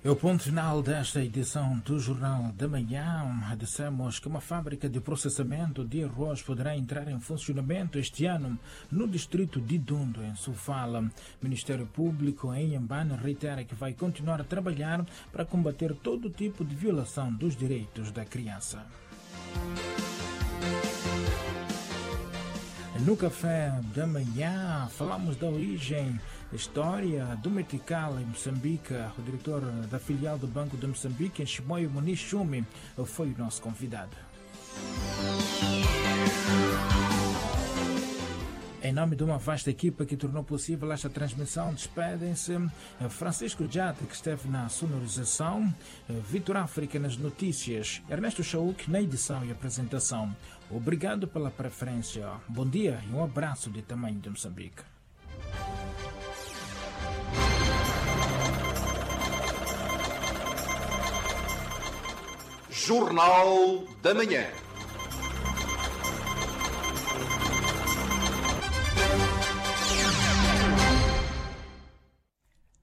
É o ponto final desta edição do Jornal da Manhã. Dissemos que uma fábrica de processamento de arroz poderá entrar em funcionamento este ano no distrito de Dundo, em Sofala. O Ministério Público em Inhambane reitera que vai continuar a trabalhar para combater todo tipo de violação dos direitos da criança. No café da manhã, falamos da origem, história do Metical em Moçambique. O diretor da filial do Banco de Moçambique, em Chimoio, Muniz Chumi, foi o nosso convidado. Em nome de uma vasta equipa que tornou possível esta transmissão, despedem-se Francisco Jate, que esteve na sonorização, Vitor África nas notícias, Ernesto Chauk na edição e apresentação. Obrigado pela preferência. Bom dia e um abraço de tamanho de Moçambique. Jornal da Manhã.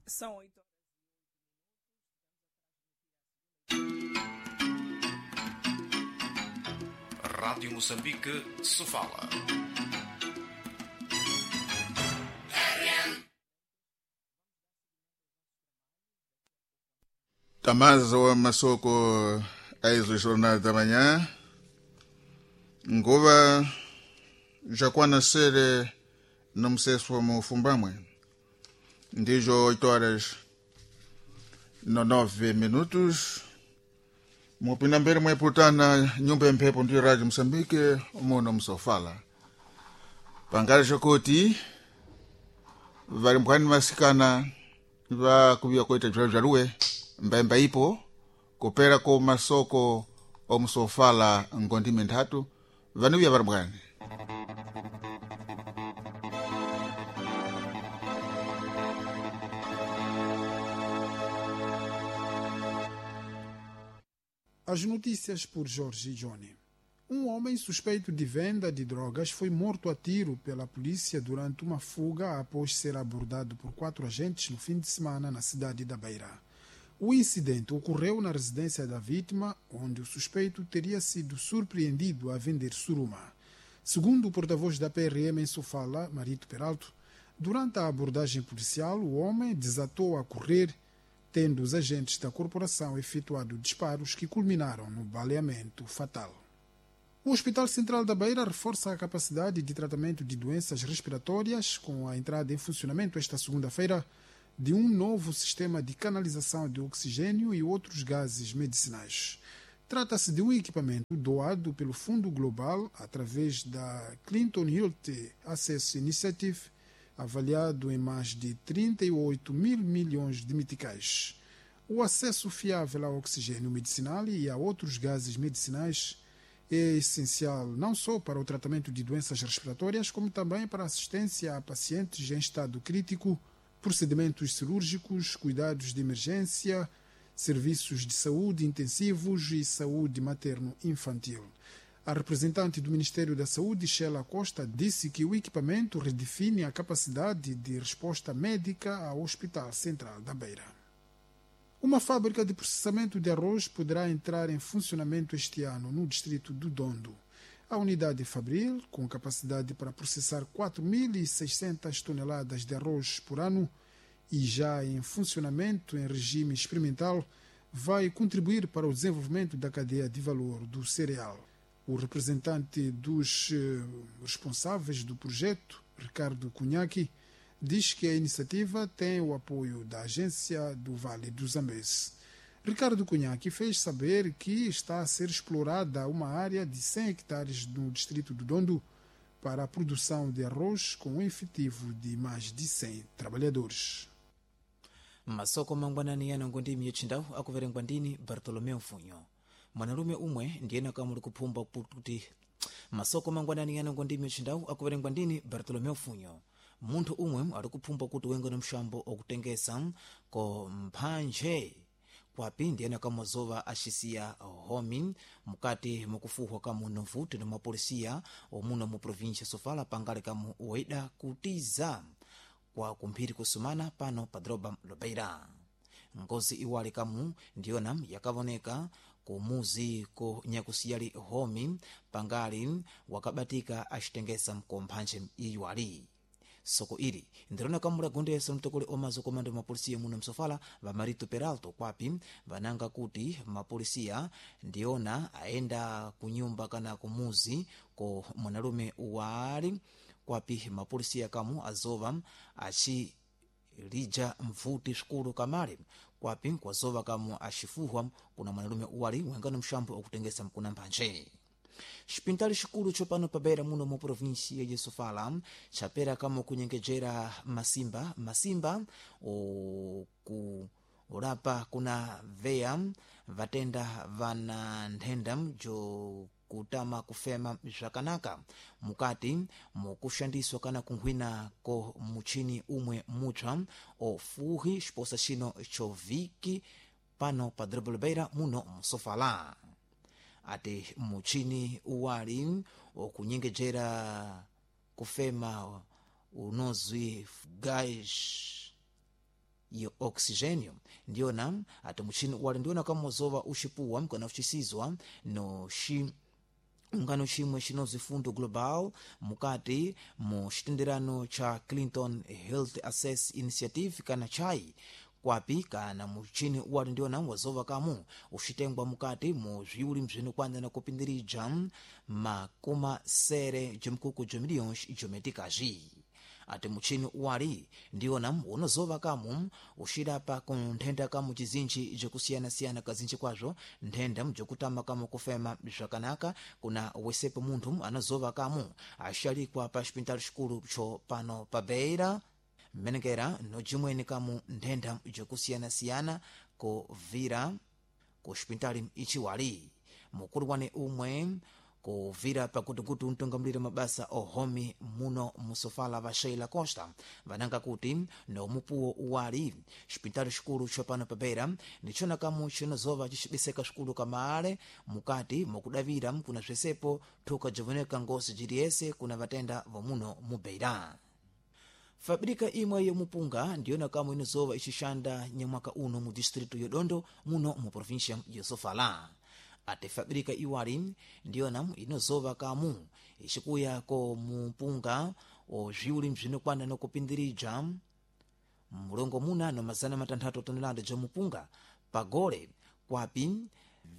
São 8 Rádio Moçambique, Sofala. Tamazo wa masoko aizo jornal da manhã nguva jakwana sere nomuseso mufumbamwe ndijo 8 horas no 9 minutos mupinda mbele mweputana nyumba ya mphepo ndiyo rádio moçambique muno msofala pangala xokoti valimbwani vasikana vakuviwa kuita bzalo bzaluwe mbaemba ipo kupera ko masoko omusofala ngondime nthatu vanuviya valimbwani. As notícias por Jorge Johnny. Um homem suspeito de venda de drogas foi morto a tiro pela polícia durante uma fuga após ser abordado por 4 agentes no fim de semana na cidade da Beira. O incidente ocorreu na residência da vítima, onde o suspeito teria sido surpreendido a vender suruma. Segundo o porta-voz da PRM em Sofala, Marito Peralto, durante a abordagem policial, o homem desatou a correr, tendo os agentes da corporação efetuado disparos que culminaram no baleamento fatal. O Hospital Central da Beira reforça a capacidade de tratamento de doenças respiratórias com a entrada em funcionamento esta segunda-feira de um novo sistema de canalização de oxigênio e outros gases medicinais. Trata-se de um equipamento doado pelo Fundo Global através da Clinton Health Access Initiative, avaliado em mais de 38 mil milhões de meticais. O acesso fiável ao oxigênio medicinal e a outros gases medicinais é essencial não só para o tratamento de doenças respiratórias, como também para a assistência a pacientes em estado crítico, procedimentos cirúrgicos, cuidados de emergência, serviços de saúde intensivos e saúde materno-infantil. A representante do Ministério da Saúde, Sheila Costa, disse que o equipamento redefine a capacidade de resposta médica ao Hospital Central da Beira. Uma fábrica de processamento de arroz poderá entrar em funcionamento este ano no distrito do Dondo. A unidade Fabril, com capacidade para processar 4.600 toneladas de arroz por ano e já em funcionamento em regime experimental, vai contribuir para o desenvolvimento da cadeia de valor do cereal. O representante dos responsáveis do projeto, Ricardo Cunhaqui, diz que a iniciativa tem o apoio da Agência do Vale do Zambeze. Ricardo Cunhaqui fez saber que está a ser explorada uma área de 100 hectares no distrito do Dondo para a produção de arroz com um efetivo de mais de 100 trabalhadores. Masoko mangwanani yano ngondimi yotchindau akuverengwa ndini Bartolomeu Mfunyo. Mwanalume umwe ndiyena kamuli kuphumba kuti masoko mangwanani yano ngondimi yotchindau akuverengwa ndini Bartolomeu Mfunyo. Munthu umwe ali kuphumba kuti wengene mxambo okutengesa ko mphanje kwapi ndiyena kamazova axisiya homi mukati mukufuhwa kamuno mfuti na mapolisiya omuno mu província Sofala pangale kamu waida kutiza kwa kumphiri kusumana pano pa droba Lobeira. Ngozi iwali kamu ndiyona yakavoneka kumuzi ku nyakusiyali homi pangali wakabatika acitengesa mkomphantche iywali. Soko ili ndirona kamula gondeso mtokole omazo komando mapolisiya muno msofala va Marito Peralto kwapi vananga kuti mapolisiya ndiona aenda kunyumba kana kumuzi ko mwanalume wali kwapi mapolisiya kamu azova aci lija mvuti sukulu kamale kwapi kwazova kamu axifuhwa kuna mwanalume uwali wengano mxambo okutengesa mkuna mphantche. Xipintali xikulu tsopano pabeira muno mu provinsia ya Sofala chapera kamo kunyengejera masimba masimba okulapa kuna veya vatenda vana nthenda jokutama kufema zvakanaka mukati mukushandiswa kana kunkhwina ko muchini umwe mupsa ofuhi xiposa xino choviki pano pa dorobo Beira muno msofala. Ati muchini uwali okunyengejera kufema unozwi gás yo oxigênio ndiyona ati muchini uwali ndiyona kamozova uxipuwa kana uxisizwa no xi ungano chimwe chinozwi Fundo Global mukati mu xitenderano cha Clinton Health Access Initiative kana chai kwapi kana muchini uwali ndiona wazova kamu uxitengwa mukati mu zviuli mzvinokwana na kupindirija makuma sere jomkuku jomiliyons jometikazi. Ati muchini uwali ndiona unozova kamu uxilapa ku nthenda kamu cizinji jokusiyanasiyana kazinji kwazvo nthenda jokutama kamu kufema zvakanaka kuna wesepo munthu anazova kamu axalikwa pa xipintalo xikulu cho pano pa Beira mmenekera nojimweni kamu nthenda jokusiyanasiyana kuvira ku xipintali ichiwali. Mukulu wane umwe kuvira pakutukutu mtungamulire mabasa ohomi muno musofala va Sheila Costa vananga kuti nomupuwo uwali xipintali xikulu xopano pabeira ndichona kamu cinozova cixibiseka xikulu kamale mukati mukudavira kuna bzesepo thuka jovoneka ngozi jiliyese kuna vatenda vomuno mubeira. Fabrika imwe yomupunga ndiyona kamwe inozova ixixanda nyamwaka uno mu distrito yodondo muno mu província ya Sofala. Ate fabrika iwali ndiyona inozova kamu ixikuya ko mupunga ozviuli bzinokwana nokupindirija mulongo muna no 600 tonelada ja mupunga pagole kwapi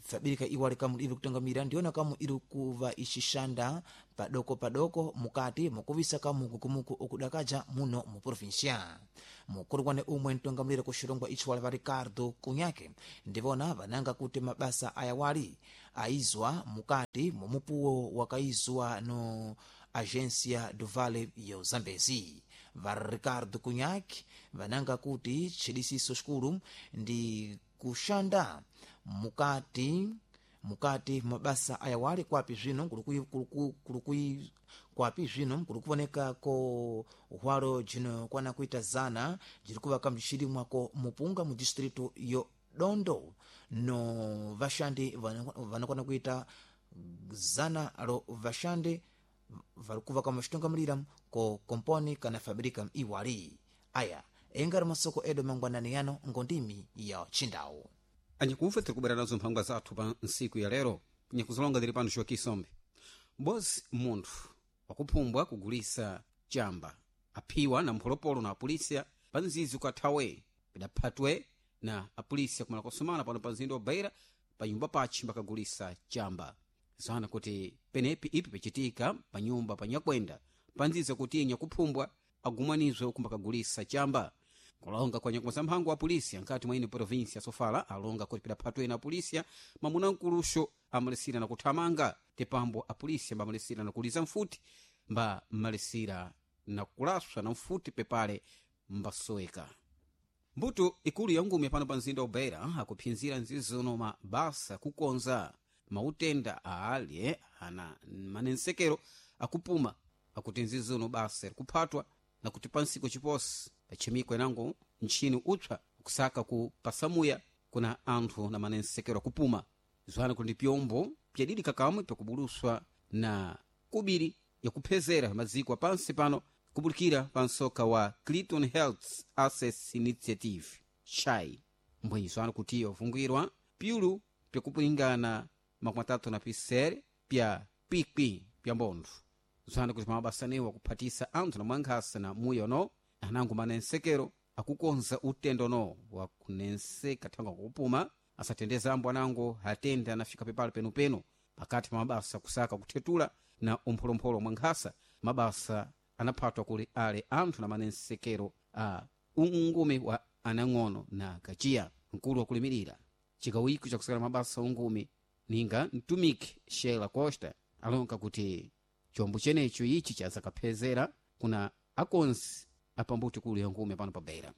fabirika iwali kamu iri kutangamira ndiyona kamu iri kuva ixixanda padoko padoko mukati mukuvisa kamu kukumuku okudakaja muno mu província. Mukulu wane umwe mtungamira ku xilongwa ichi wali va Ricardo Kunyake ndivona vananga kuti mabasa ayawali aizwa mukati mumupuwo wakaizwa no Agência do Vale yo Zambezi. Va Ricardo Kunyake vananga kuti chidisiso xikulu ndi kuxanda mukati mukati mabasa ayawali kwapi zvino kwapi zvino kuli kuvoneka ko hwalo jinokwana kuita 100 jiri kuvaka mxilimwa ko mupunga mu distrito yo Dondo no vaxandi vanokwana kuita 100 ro vaxandi vari kuvaka muxitungamulira ko komponi kana fabrika iwali. Aya engari masoko edu mangwanani yano ngondimi ya chindau. Anyakufa tiri kubwera nazo mphangwa zathu pa ntsiku ya lero nyakuzilonga zili pano Joaquim Bozi munthu wakuphumbwa kugulisa chamba aphiwa na mpholopolo na apolisiya pa nzizi ukathawe pidaphatwe na apolisiya kumala kosomana pano pa mzinda wa Beira pa nyumba pachi mbakagulisa chamba zana kuti penepi ipi pichitika pa nyumba pa nyakwenda pa nzizi kuti nyakuphumbwa agumanizwe uku mbakagulisa chamba. Kulonga kwa nyakumasa mphango wa polisi nkati mwa ine província ya Sofala alonga kuti pidaphatwe na polisi mamuna mkuluxo amalisira na kuthamanga tepambo apolisi mbamalisira na kuliza mfuti mba malisira na kulaswa na mfuti pepale mbasoweka. Mbuto ikulu ya ngumi pano pa mzinda wa Beira akuphinzira nzizono mabasa kukonza mautenda aali ana manensekero akupuma akuti nzizono basa likuphatwa na kuti pansiko chiposi pachimiko inango ntchini upsa kusaka ku pasamuya kuna anthu na manensekero akupuma zwana kuti pyombo pyadidika kamwe pyakubuluswa na kubiri yakuphezera maziko apansi pano kubulikira pa msoka wa Clinton Health Access Initiative chai. Mbwenyiswano kuti wafungwirwa pyulu pyakupulingana 37 pya pikwi pya mbontho. Zwana kuti mabasanewo akuphatisa anthu na mwankhasa na muya ono anango manensekero akukonza utendo no wakunenseka thanga kupuma asatendeza ambo anango atende anafika pepala penupenu pakati pa mabasa kusaka kuthetula na umpholompholo mwankhasa. Mabasa anaphatwa kuli ale anthu na manensekero a ungumi wa anang'ono na kachiya. Mkulu wakulimirira chikawiko chakusakala mabasa ungumi ninga mtumiki Sheila Costa alonga kuti chombo chenecho ichi chazakaphezera kuna akonzi apambuti kulu ya ngumi pano pa Beira.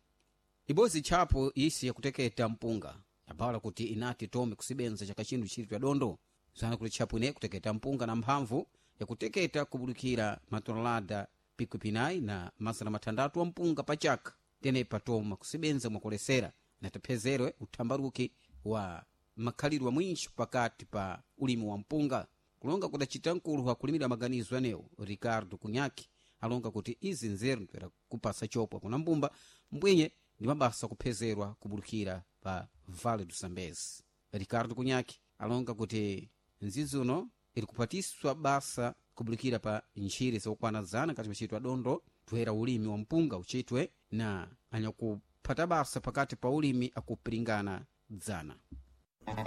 Ibozi tchapo isi yakuteketa mpunga yabala kuti inati tome kusibenza chaka chino chili tya dondo. Zana kuti tchapo ine kuteketa mpunga na mphamvu yakuteketa kubulukira matonelada 90 na 600 wa mpunga pa chaka. Tenepa toma kusibenza mwakolesera na taphezerwe uthambaruki wa makhalidwe mwinji pakati pa ulimi wa mpunga. Kulonga kudacita mkulu wakulimira maganizo anewo Ricardo Kunyaki alonga kuti izi nzeru ntwera kupasa chopwa kuna mbumba mbwinye ndi mabasa kuphezerwa kubulukira pa Vale do Sambezi. Ricardo Kunyaki alonga kuti nzizi uno iri kuphatiswa basa kubulukira pa ntchire zokwana 100 kati machitwa dondo twera ulimi wa mpunga uchitwe na anyakuphata basa pakati pa ulimi akupiringana 100.